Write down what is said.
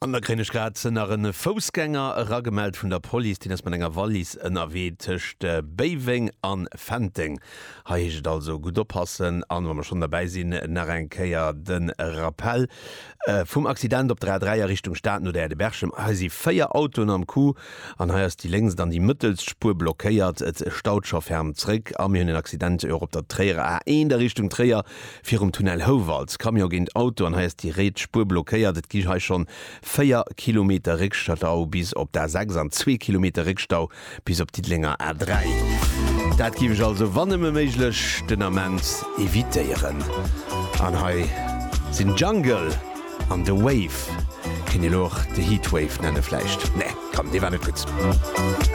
An da kréien ech grad nach e Foussgänger eragemellt vun der Police. Deen ass mat enger Wallis ënnerwee tëscht Béiweng an Fenteng. Hei heescht et also gutt oppassen. An wa mer schonn derbäi sinn, nach eng Kéier de Rappell vum Accident op der A3 a Richtung Stad no der Aire de Berchem. Hei si 4 Autoen am Coup an hei ass déi lénkst an déi mëttelst Spuer blockéiert. Et staut scho ferm zréck. A mir hunn en Accident och op der Tréierer A1 a Richtung Tréier Virum Tunnel Houwald, Camion géint Auto an hei ass déi riets Spuer blockéiert. Et gi hei schonn 4 Kilometer Réckstau bis op d'A6 an zwee Kilometer Réckstau bis op d'Diddelenger A3. Dat géif ech also wann nëmme méiglech den Ament evitéieren. An hei sinn Jungle an The Wave. Kéint een elo och The Heatwave nenne vläicht? Nee, komm, dee war net gutt.